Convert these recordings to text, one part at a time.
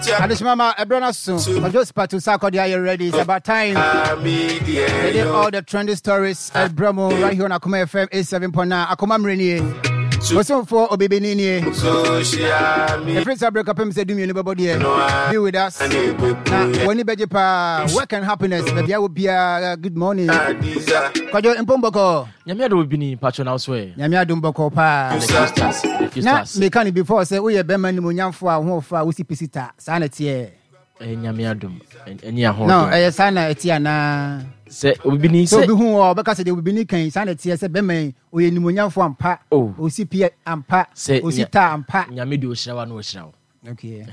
Adeshimama, Ebrona so. Kojo Spatu Sarkodie, are you ready? It's about time. They did all the trendy stories at Bremo right here on Akoma FM 87.9. Akoma Mrenie. Bosomfo Obibini nie. Ɛfiri saa berɛ kɔpem sɛ dumienu bɛbɔ deɛ. Be with us. Na w'ani bɛgye paa. Work and happiness. Baabi a wɔ biara. Good morning. Kwadwo mpom bɔkɔɔ. Nyame adom obibini mpakyɛ na wo so ɛ. Nyame adom bɔkɔɔ paa. Na meka no before sɛ woyɛ bɛrima nimonyamfo a ho ɔfa a wosi pisi ta saa na ɛteɛ. Ɛyɛ Nyame adom ɛne ahoɔden. No ɛyɛ saa na ɛteɛ anaa. Sɛ obibini sɛ obi hu wɔ ɔbɛka sɛ deɛ obibini kan saa na ɛteɛ sɛ bɛrima yi ɔyɛ nimonyamfo ampa. Oh. Osi pi ampa. Sɛ osi ta ampa. Nyame deɛ ɔhyira wa na ɔhyira wo. Okay.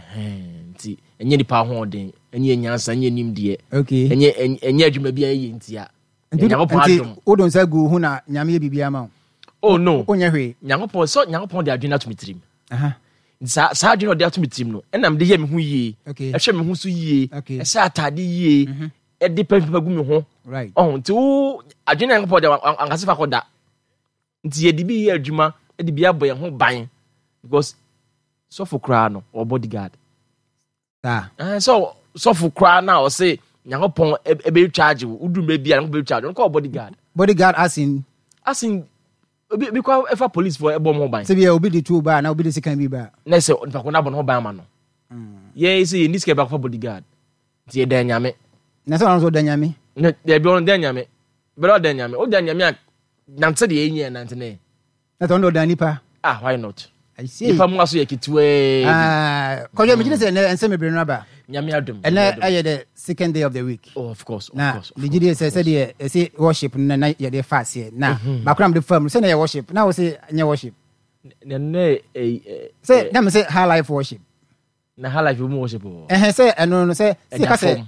Nti ɛnyɛ nipa ahoɔden ɛnyɛ nyansa ɛnyɛ nimdeɛ. Okay. Ɛnyɛ ɛnyɛ adwuma bi a ɛyɛ ntia. Nti Nyankopɔn nti adom. wode nsa gu wo ho na Nyame yɛ biribi ama wo. Oh no. Wonyɛ hwee. Nyankopɔn sɛ Nyankopɔn de adwene ato me tirim. Aha. Nti saa saa adwene a ɔde ato me tirim no ɛna mede yɛ me ho yie. Okay. Ɛhwɛ me ho so yie. Okay. Ɛhyɛ atade yie. Mhm. Ɛde pɛmpɛm gu me ho. Right. Ɔho nti wo adwene a Nyankopɔn de ankasa fa kɔ da. Nti yɛde bi yɛ adwuma de bi abɔ yɛn ho ban because sɔfo koraa no ɔwɔ bodyguard. Saa. Ɛɛ sɛ sɔfo koraa na ɔse Nyankopɔn ɛbɛ charge wo wodu mmerɛ bi a Nyankopɔn bɛ charge wo ɔno kɔ bodyguard. Bodyguard as in. As in obi bi kɔ ɛfa police fo ɛbɔ ɔmo ho ban. Sɛ bi a obi de tuo ba na obi de sekan bi ba. Na sɛ nipa ko no abɔ ne ho ban ama no. Yɛn sɛ yɛn ni sika bi akɔfa bodyguard nti yɛ dan Nyame. Na sɛ ɔno nso ɔda Nyame. Na dabi ɔno dan Nyame. Bɛrɛ ɔda Nyame ɔda Nyame a nante deɛ yɛn nyɛ nante ne. Na sɛ ɔno ɔda nipa. Ah why not? I see. Nipa mu aso yɛ ketewaa bi. Ah, kɔjɔ mi gyina sɛ ɛnɛ nsɛm bebree no aba. Nyame adom. Ɛnɛ ɛyɛ the second day of the week. Oh of course, of na, course. Na megye di sɛ sɛdeɛ ɛsɛ worship no na yɛde fa aseɛ na mhm. baako na mede fa mu sɛ na yɛ worship na wo sɛ nyɛ worship. Na nɛ sɛ na me sɛ high life worship. Na high life mu worship wɔ. Ɛhɛn sɛ ɛno no sɛ sɛ yɛka sɛ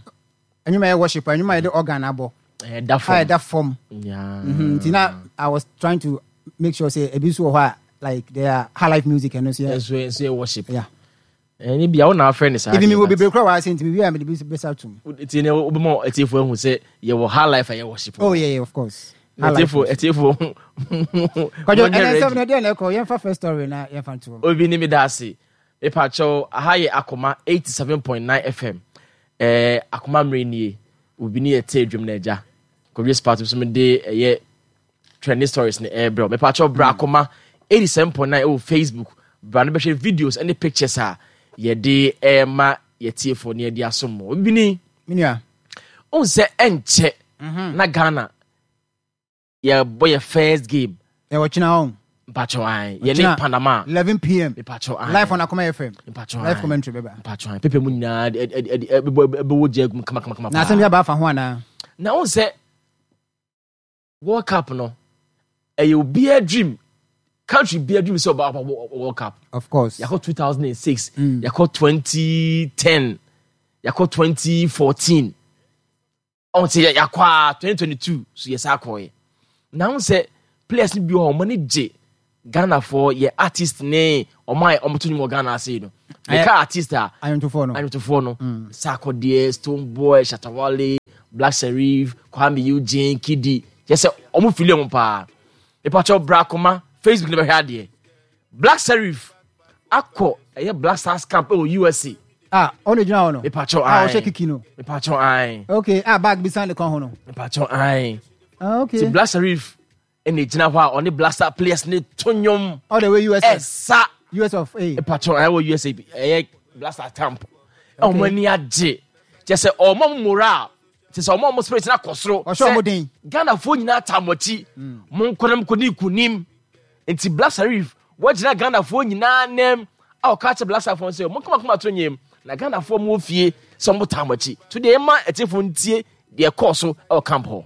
ɛnwuma yɛ worship ɛnwuma yɛde organ abɔ. Ɛda fam. Ɛda fam. Mhm, nti na I was trying to make sure sɛ ebi nso wɔ hɔ a like there are high life music ɛno nso yɛ. Ɛnso ɛnso yɛ worship. Yeah. Ɛni bia wo na afrɛ ne saa. Ebi mi wɔ bebree kura wɔ ase nti mi wi a mi de bi bɛsa tum. Nti ne wo bɛma atiefo ahu sɛ yɛ wɔ high life a yɛ worship. Oh yeah, yeah of course. Atiefo atiefo. Kwadwo ɛnɛ nsɛm no deɛ na ɛkɔ yɛmfa first story na yɛmfa nto. Obi ni mi da ase. Mepakyɛw, aha yɛ Akoma 87.9 FM. Eh, Akoma mmerɛ nie. Obi ne yɛte adwam no agya. Kɔwie spat nso mede ɛyɛ trending stories ne ɛrebrɛ. Mepakyɛw bra hmm. Akoma 87.9 ɛwɔ Facebook. Bra no bɛhwɛ videos ne pictures a yɛde ɛrema yɛtiefo ne yɛde asom mo. Obi ni. Menua. Ohun sɛ ɛnkyɛ mhm. na Ghana yɛbɔ yɛ first game. Ɛwɔ kyena hɔ. Mpatsɔ ayi yɛ ne Panama. 11 pm. Mpatsɔ ayi. Live on Akoma FM. Mpatsɔ ayi. Live commentary bɛba. Mpatsɔ ayi pepe mu nyinaa ɛde ɛbɛbɔ ɛbɛwɔ gya egum kama kama kama. Na asɛm bi aba afa ho anaa. Na wɔn sɛ World Cup no ɛyɛ obiara dream country biara dream sɛ ɔba ɔba World Cup. Of course. Yakɔ 2006. Mm. Yakɔ 2010. Yakɔ 2014. Ɔn sɛ yɛakɔ a 2022 so yɛsa akɔɛ. Na ho sɛ players no bi wɔ hɔ ɔmo ani gye Ghanafoɔ yɛ artist ne ɔmo a ɔmo to nnwom wɔ Ghana ase yi no. Meka artist a ayɔntofoɔ no ayɔntofoɔ no mm. Sarkodie, Stonebwoy, Shatta Wale, Black Sherif, Kwame Eugene, Kidi kyɛ sɛ ɔmo fili ɔmo paa. Mepakyɛw bra koma Facebook ne bɛhwɛ adeɛ. Black Sherif akɔ ɛyɛ Black Stars camp ɛwɔ USA. Ah, ɔno gyina hɔ no. Mepakyɛw ayi. Ah, ɔhyɛ kiki no. Mepakyɛw ayi. Okay, ah bag bi san ne kɔn ho no. Mepakyɛw ayi. Ah, okay. Ti Black Sherif ɛna gyina hɔ a ɔne Black Star players ne to nnwom. All the way USA. Ɛsa. US of A. Mepakyɛw ayi wɔ USA ɛyɛ Black Star camp. Ɔmo ani agye. Kyɛ sɛ ɔmo moral kyɛ sɛ ɔmo ɔmo spirit na kɔ soro. Ɔhyɛ ɔmo den. Ghanafoɔ nyinaa taa mo akyi. Mo nkɔ na mo kɔ ne nkunim. Nti Black Sherif wagyina Ghanafoɔ nyinaa nam a ɔka kyerɛ Black Starfoɔ sɛ mo kama to nyem na Ghanafoɔ mo wɔ fie sɛ mo taa mo akyi. To deɛ ɛma atiefoɔ ntie deɛ ɛkɔɔ so ɛwɔ camp hɔ.